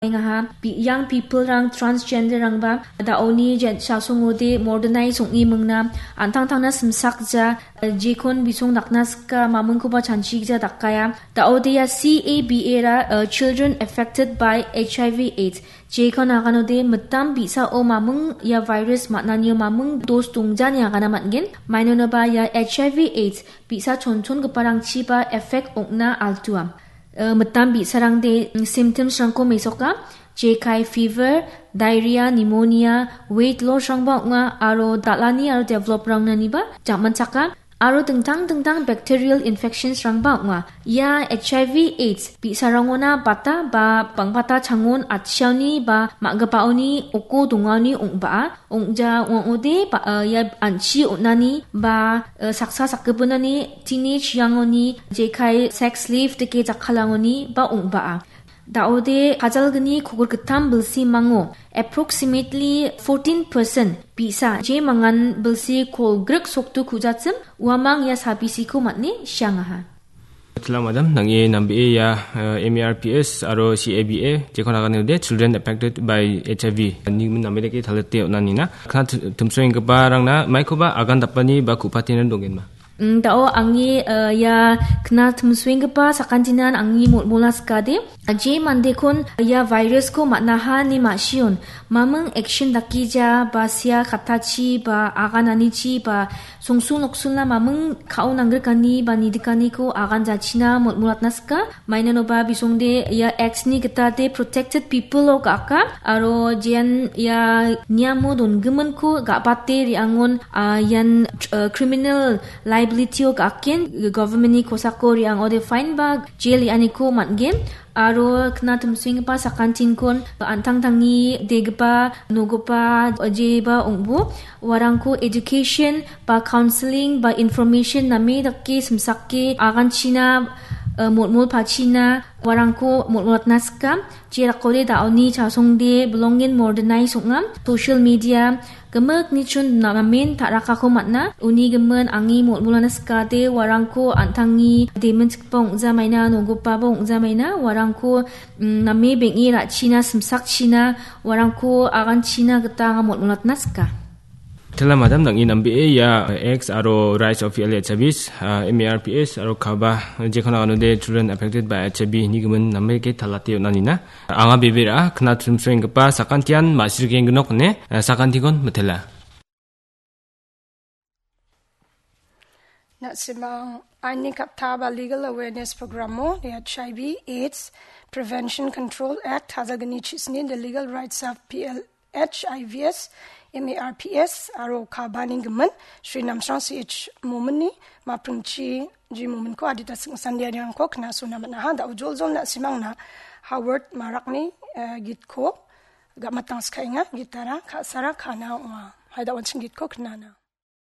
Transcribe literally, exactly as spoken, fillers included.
Engaha, bi-, young people-rang, transgender-rangba, da·oni jen-, chasongode modernize ong·e mingna, an·tangtangna simsakja, jekon bisong dakna sika, mamingkoba chanchigija dakaya. Da·ode ia C A B A ra, uh, Children Affected by H I V AIDS. Jekon aganode mitam bi·sao maming ia virus man·anio maming dos dongjani agana man·gen. Mainonoba ia H I V AIDS bi·sa chonchongiparangchiba effect ong·na altua. Eh, mitam bi·sarangde, mm, symptoms-rangko mesoka, jekai fever, diarrhea, pneumonia, weight loss-rangba ong·a, aro dal·ani aro develop-rangnaniba jamanchaka, aro dingtang dingtang bacterial infections-rangba ong·a. Ia H I V AIDS bi·sarangona bata ba bangbata changon atchiaoni ba ma·gipaoni oko dongaoni ong·baa. Ong·ja ong·ode ba, eh, ia an·chi on·ani ba, eh, saksa sakgipinani teenage young-oni jekai sex slave dake jakkalangoni ba ong·baa. Da·ode kajalgni kogirgittam bilsimango approximately fourteen percent bi·sa je mangan bilsi kolgrik sokdu kujachim uamang ia sabisiko man·e siangaha. Tila madam, nang·e nambee ia, eh, M A R P S aro C A B A, jekon aganode Children Affected by H I V, nigimin name dake talate on·anina. Kna t-, timsoenggiparangna maikoba agan dapani ba ku·patenan dongenma. Mm, da·o angni, eh, ia kna timsoenggipa sakantinan angni molmola sikade, je mandekon ia virus-ko man·aha ine ma·sion, maming action dakija ba sia katachi ba agananichi ba songsu noksulna maming ka·o nanggrikani ba nidikaniko aganjachina molmolatna sika. Mainanoba bisongde ia X-ni gita de protected people-o ga·aka, aro jean ia niamo donggiminko ga·bate re·angon, ah, ian, eh, criminal liability-o ga·aken, government-ni kosako re·angode fine ba jail re·aniko man·gen. Aro kna timsoenggipa sakantinkon an·tangtangni degipa, nogipa, jeba ong·bo. Uarangko education ba counseling ba information name dake simsake aganchina, eh, molmolpachina uarangko molmolatna sika. Jerakode da·oni chasongde belongen modernized ong·a. Social media, gimikni chun namen ta·rakako man·a. Uni gimin angni molmolana sikade uarangko an·tangni demenchikgipa ong·jamaina, nogipaba ong·jamaina, uarangko, mm, name beng·e ra·china, simsakchina, uarangko aganchina gita anga molmolatna sika. Tela madam, nang·e nambee ia X aro Rise of L H I Vs, ah, M A R P S aro kaba jekon aganode Children Affected by H I V ni gimin name ke talate on·anina. Anga bebe ra·a, kna timsoenggipa sakantian ma·sirgengnok ine, eh, sakantikon mitela. Na·simang aini katta ba legal awareness programo H I V AIDS Prevention Control Act hajagni chisni The Legal Rights of P L H I Vs, M A R Ps aro kabani gimin Shri Namsrang C H Mominni mapringchi ji Mominko adita singsandiarangko knasona man·aha. Da·o joljol na·simangna Howard Marakni, eh, gitko ga·matang skaenga, gitara ka·sara ka·na ong·a. Hai da·onsing gitko knana.